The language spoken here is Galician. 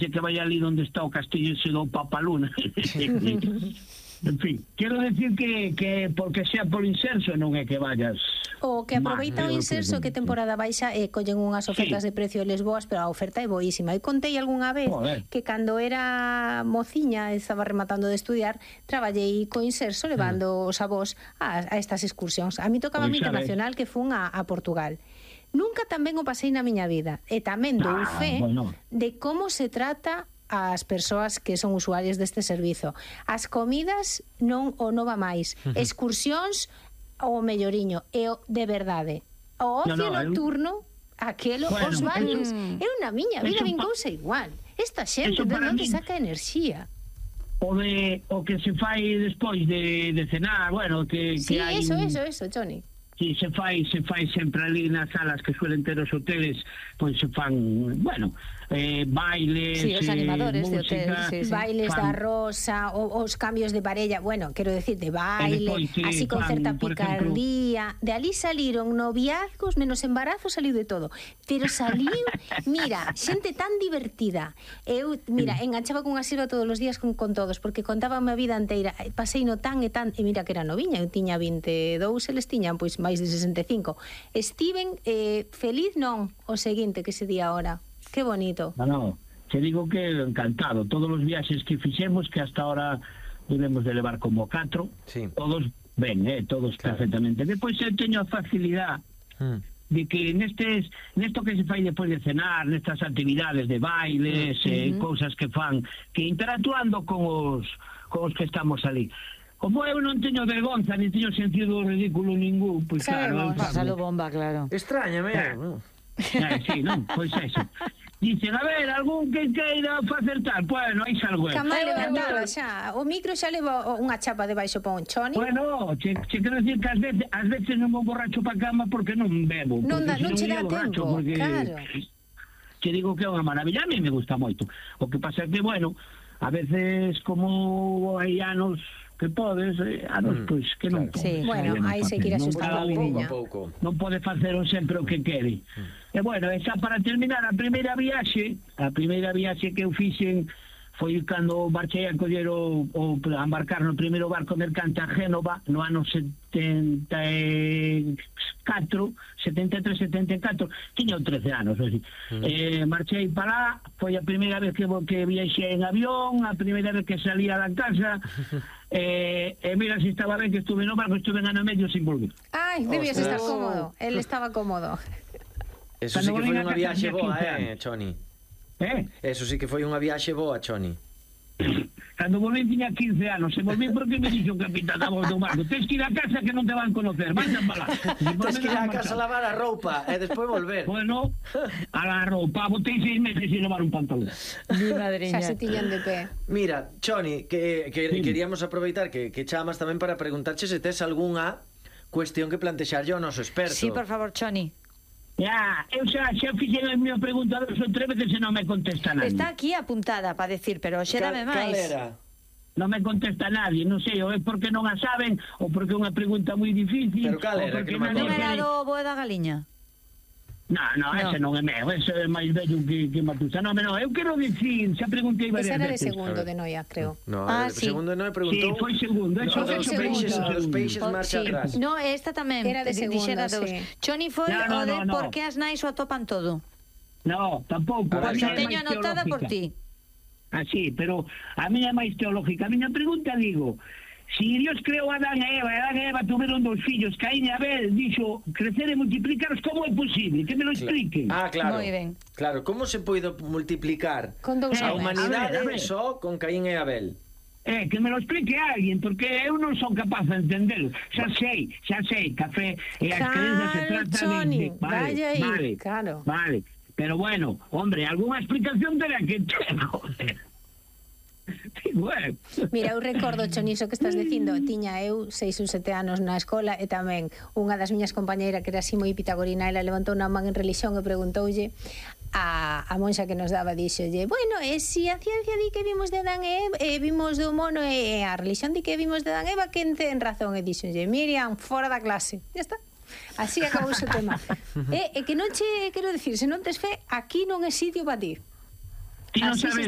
que vai ali onde está o castillo ese do Papaluna. En fin, quero decir que porque sea por inserso non é que vayas. O que aproveita o inserso que temporada baixa collen unhas ofertas de precio les boas, pero a oferta é boísima. E contei algunha vez que cando era mociña, estaba rematando de estudiar, traballei co inserso levando os avós a estas excursións. A mí tocaba a internacional que fun a Portugal. Nunca tamén o pasei na miña vida. E tamén dou fe de como se trata as persoas que son usuarias deste servizo. As comidas non o nova máis. Excursións o melloriño. E de verdade, o ocio nocturno, aquelo, os baños. Eu na miña vida vin cousa igual. Esta xente de onde saca enerxía. O que se fai despois de cenar, bueno, que hai... Sí, eso, Johnny. Sí, se fai sempre ali nas salas que suelen ter os hoteles, pois se fan, bueno, bailes, os animadores de hoteles, bailes da rosa, os cambios de parella, bueno, quero decir, de baile, así con certa picardía. De ali saliron noviazgos, menos embarazo, saliu de todo. Pero saliu, mira, xente tan divertida. Eu, mira, enganchaba cunha silva todos os días con todos, porque contaba a miña vida inteira, pasei no tan e tan, e mira que era noviña, eu tiña 22, eles tiñan, pois, máis de 65. Estiven feliz non o seguinte que se di agora. Que bonito. No, te digo que encantado. Todos os viaxes que fixemos, que hasta ahora debemos de levar como 4, todos ben, todos perfectamente. Depois eu teño a facilidade de que nesto que se fai despois de cenar, nestas actividades de bailes, cousas que fan, que interactuando con os que estamos ali. Como eu non teño vergonza, ni teño sentido ridículo ningún, pois claro... Pásalo bomba, claro. Extrañame, non? Sí, non, pois eso. Dicen, a ver, algún que queira facer tal, bueno, aí salgo. Camar levantaba xa, o micro xa leva unha chapa debaixo pa un choni. Bueno, che quero decir que ás veces non vou borracho pa cama porque non bebo. Non che dá tempo, claro. Che digo que é unha maravilla, a mí me gusta moito. O que pasa é que, bueno, a veces como hai anos que podes, anos, pois, que non podes. Sí, bueno, aí se quira xustar a vidiña. Non pode facer sempre o que quere. E, bueno, xa para terminar, a primeira viaxe que eu fixen foi cando marchei a coller a embarcar no primeiro barco mercante a Génova no ano 73, 74, tiña 13 anos, así. Marchei para lá, foi a primeira vez que viaxei en avión, a primeira vez que salía da casa, e mira se estaba ben que estuve no barco, estuve en ano medio sin volver. Ai, debías estar cómodo, él estaba cómodo. Eso sí que foi unha viaxe boa, Choni. Eso sí que foi unha viaxe boa, Choni. Cando volví tiña 15 anos, se volví porque me dixo o capitán a bordo do barco, tens que ir a casa que non te van conocer, vais a falar. Tens que ir a casa a lavar a roupa e despois volver. Bueno, a la roupa, botei 6 meses sin lavar un pantalón. Mi madriña. Xa se tiñan de pé. Mira, Choni, que queríamos aproveitar que chamas tamén para preguntarche se tes algunha cuestión que plantexarlle ao noso experto. Sí, por favor, Choni. Eu xa fixen a miña pregunta 2 ou 3 veces e non me contesta nadie. Está aquí apuntada para decir, pero xe dame máis. Cal era? Non me contesta nadie, non sei, ou é porque non a saben, ou porque é unha pregunta moi difícil. Pero cal era? Non era do Boa da Galiña? No, ese non é meu, ese é máis bello que Matusa. No, eu quero dicir, xa preguntei varias veces. Ese era de segundo de Noia, creo. No, segundo de Noia preguntou. Sí, foi segundo. Os peixes marcha atrás. No, esta tamén. Era de segundo, sí. Choni foi o de por que as nais o atopan todo. No, tampouco. Pois a teño anotada por ti. Sí, pero a miña é máis teológica. A miña pregunta, digo, si Dios creou a Adán e Eva tuveron 2 fillos, Caín e Abel, dixo crecer e multiplicaros, como é posible? Que me lo expliquen. Claro. Moi ben. Claro, como se pode multiplicar a humanidade só con Caín e Abel? Que me lo explique alguén, porque eu non son capaz de entendelo. Xa sei, café e as creencias se trata de... Vale, pero bueno, hombre, algunha explicación terá que ter, joder. Mira, eu recordo, Choniso, que estás dicindo, tiña eu 6 ou 7 anos na escola e tamén unha das miñas compañeiras que era así moi pitagorina, ela levantou unha man en religión e preguntoulle a monxa que nos daba, díxolle, bueno, si a ciencia di que vimos de Adán e vimos do mono e a religión di que vimos de Adán e Eva, quen ten razón? E díxolle, Miriam, fora da clase. Ya está. Así acabou o tema. E que non che quero dicir, se non tes fe, aquí non é sitio para ti. Ti non sabes,